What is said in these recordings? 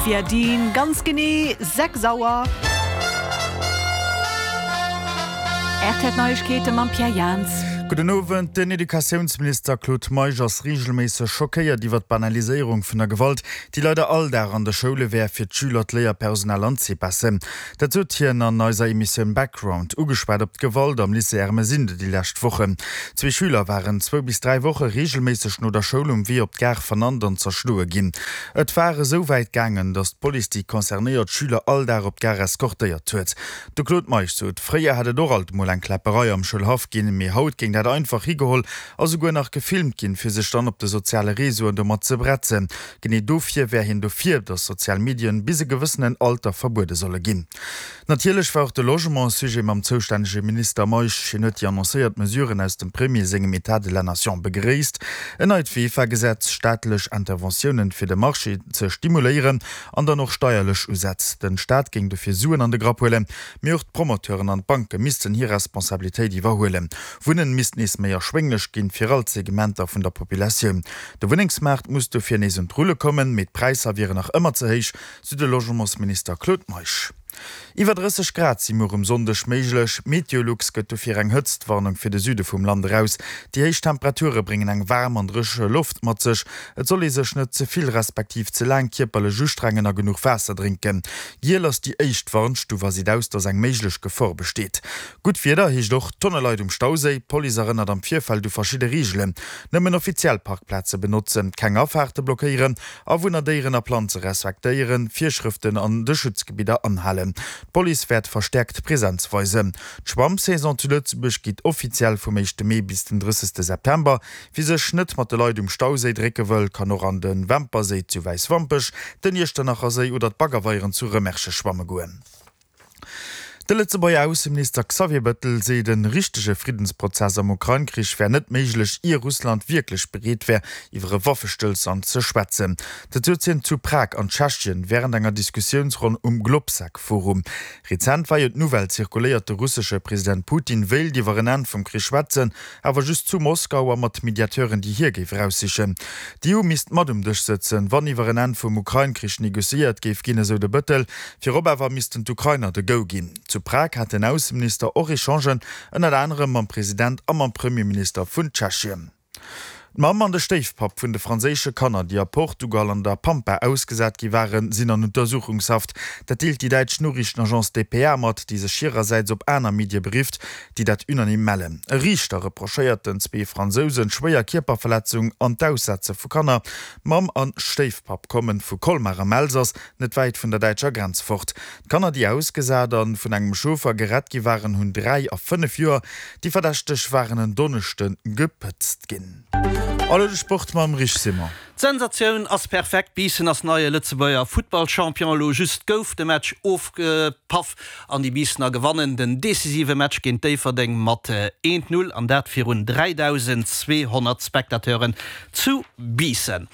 Viadin, ganz genee 6 Auer. Rtl Neiegkeete mam Pierre Jans. Gudden Owend. Den Educatiounsminister Claude Meisch ass reegelméisseg schockéiert iwwer d'Banaliséierung vun der Gewalt, déi leider all Dag an de Schoule wär, fir d'Schüler, d'Léierpersonal an d'Cepasen. Dat sot hien an eiser Emissioun Background, ugeschwat op d'Gewalt am Lycée Ermesinde déi lescht Wochen. Zwee Schüler waren zwou bis 3 Woche reegelméisseg no der Schoul um Wee op d'Gare vernannt an zerschloe ginn. Et war esou wäit gaangen, datt d'Police déi concernéiert Schüler all Dag op d'Gare eskortéiert huet. De Claude Meisch sot, fréier hätt et och alt mol eng Kläpperei am Schoulhaff ginn, mee haut géing dat einfach higeholl a souguer nach gefilmt ginn, fir sech dann op de soziale Reseauen domat ze bretzen. Genee dofir wär hien dofir, datt sozial Medien bis e gewëssenen Alter verbuede solle ginn. Natierlech war och de Logement e Sujet mam zoustännege Minister Meisch. Hien huet déi annoncéiert Mesuren aus dem Premier sengem Etat de la Nation begréisst, en neit VEFA-Gesetz, staatlech Interventiounen fir de Marché ze stimuléieren an dann och steierlech Usätz. Den Staat géing dofir Suen an de Grapp huelen, mee och d'Promoteuren an d'Banke missten hir Responsabilitéit iwwerhuelen. Wunnen misst nees méi erschwénglech ginn fir all d'Segmenter vun der Populatioun. De Wunnengsmaart muss dofir nees un d'Rulle kommen, mee d'Präisser wieren nach ëmmer ze héich, sou de Logementsminister Claude Meisch. Iwwer 30 Grad si muer um Sonndeg méiglech. Meteolux gëtt dofir eng Hëtztwarnung fir de Süde vum Land eraus. Déi héich Temperature bréngen eng waarm an dréche Loft mat sech. Et soll ee sech net ze vill respektiv ze laang kierperlech ustrengen a genuch Waasser drénken. Giel ass déi éischt Warnstuf a seet aus, dass eng méiglech Gefor besteet. Gutt Wieder heescht och Tonne Leit um Stauséi. D'Police erënnert am Virfeld u verschidde Reegelen, Nëmmen offiziell Parkplaze benotzen, keng Afaarte blockéieren, Awunner, Déieren a Planze respektéieren, Virschrëften an de Schutzgebidder anhalen. D'Police wäert verstäerkt Presenz weisen. D'Schwammsaison zu Lëtzebuerg geet offiziell vum éischte Mee bis den 30 September. Wie sech net mat de Leit um Stauséi drécke wëll, kann och an de Wemperséi zu Wäiswampech, den Iechternacherséi oder d'Baggerweieren zu Rëmersche schwamme goen. De Lëtzebuerger Ausseminister Xavier Bettel seet, en richtege Friddensprozess am Ukrain-Krich wär net méiglech, ier Russland wierklech bereet wär, iwwer e Waffestëllstand ze schwätzen. Dat sot hien zu Prag an Tschechien wärend enger Diskussiounsronn um Globsec-Forum. Rezent war jo d'Nouvelle zirkuléiert, de russesche President Putin wéilt iwwer en Enn vum Krich schwätzen, awer just zu Moskau a mat Mediateuren, déi hie géif eraussichen. D'EU misst mat um Dësch sëtzen, wann iwwer en Enn vum Ukrain-Krich negociéiert géif ginn, esou de Bëttel. Virop awer missten d'Ukrainer de Go ginn. Zu Prag hat den Ausseminister och Echangen, ënnert anerem mam President a mam Premierminister vun Tschechien. D'Mamm an de Stéifpapp vun de franséische Kanner, déi a Portugal an der Pampa ausgesat gi waren, sinn an Untersuchungshaft. Dat deelt déi däitsch Noriichtenagence dpa mat, déi sech hirersäits op aner Medie berifft, déi dat unanime mellen. E Riichter reprochéiert den zwee Fransousen schwéier Kierperverletzung an d'Aussetze vu Kanner. Mamm an Stéifpapp kommen vu Colmar am Elsass, net wäit vun der däitscher Grenz fort. D'Kanner, déi ausgesat an vun engem Chauffer gerett gi waren, hunn 3 a 5 Joer. Déi Verdächteg waren en Donneschde gepëtzt ginn. A lo de Sport mam Rich Simon. D'Sensatioun ass perfekt, Biissen ass neie Lëtzebuerger Futtballchampion. Elo just gouf de Match ofgepaff an déi Biissener gewannen den decisive Match géint Déifferdeng mat 1, 0 an dat virun 3.200 Spectateuren zu Biissen.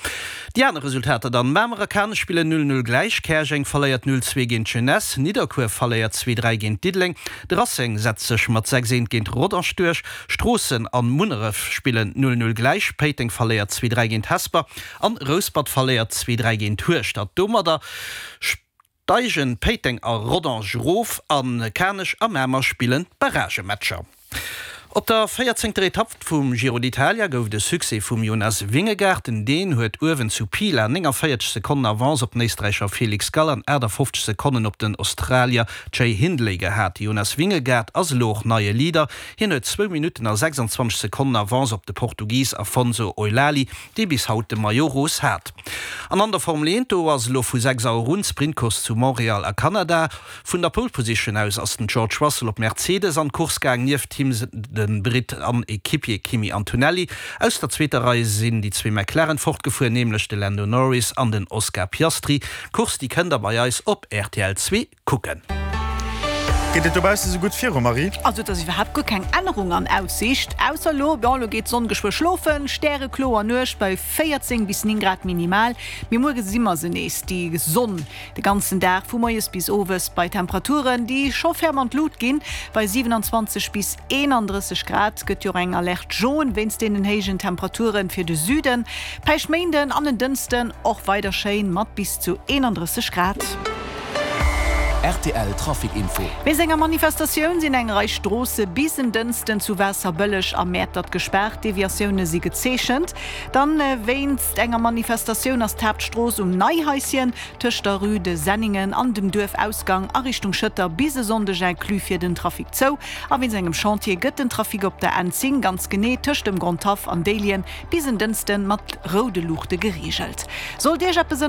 Déi aner Resultater dann, Mamer a Kanech spillen 0, 0 gläich, Käerjeng verléiert 0, 2 géint d'Jeunesse, Nidderkuer verléiert 2, 3 géint Diddeleng, de Racing setzt sech mat 6, 1 géint Rodange duerch, Stroossen an Munneref spillen 0, 0 gläich, Péiteng verléiert 2, 3 géint Hesper an Rouspert verléiert 2, 3 géint Hueschtert. Domadder Steigen Péiteng a Rodange erof a Kanech a Mamer spillen d'Barragematcher. Op der véierzéngter Etapp vum Giro d'Italia gouf et e Succès vum Jonas Vingegaard. Den Dän huet uewen zu Pila 49 Sekonnen Avance op den Éisträicher Felix Gall an 58 Sekonnen op den Australier Jay Hindley gehat. De Jonas Vingegaard ass elo och neie Leader. Hien huet zwou Minutten a 26 Sekonnen Avance op de Portugis Afonso Eulali, dee bis haut de Maillot Rose hat. An an der Formel 1, do ass elo vu 6 Auer un d'Sprintcourse zu Montréal a Kanada. Vun der Pole Position aus ass den George Russell op Mercedes an d'Course gaang, nieft him de Britt an Equipier Kimi Antonelli. Aus der zweeter Rei sinn déi zwee McLaren fortgefuer, nämlech de Lando Norris an den Oscar Piastri. D'Course, déi kënnt der bei eis op rtl 2 kucken. Geet et dobausse sou gutt viru, Marie? Also et ass iwwerhaapt guer keng Ännerung an Aussiicht, ausser elo, bon, elo geet d'Sonn geschwë schlofen, stärekloer Nuecht bei 14 bis 9 Grad minimal, mee muer gesi mer se nees, déi Sonn, de ganzen Dag vu moies bis owes bei Temperaturen, déi scho ferm an d'Lut ginn. Bei 27 bis 31 Grad gëtt jo och eng Alerte jaune wéinst deenen héijen Temperature fir de Süden. Päischtméinden an en Dënschden och weider schéin mat bis zu 31 Grad. Rtl Trafic Info. Wéinst enger Manifestatioun sinn eng Rei Stroosse bis en Dënschden zu Waasserbëlleg a Mäertert gespaart. Deviatioune si gezeechent. Dann wéinst enger Manifestatioun ass d'Haaptstrooss um Neihaischen tëscht der Rue de Senningen an dem Duerfausgang a Richtung Schëtter bis e Sonndeg inclus fir den Trafic zou. A wéinst engem Chantier gëtt den Trafic op der N10 ganz genee tëscht dem Grondhaff an Déiljen bis en Dënschden mat roude Luuchte gereegelt. Sollt Iech eppes.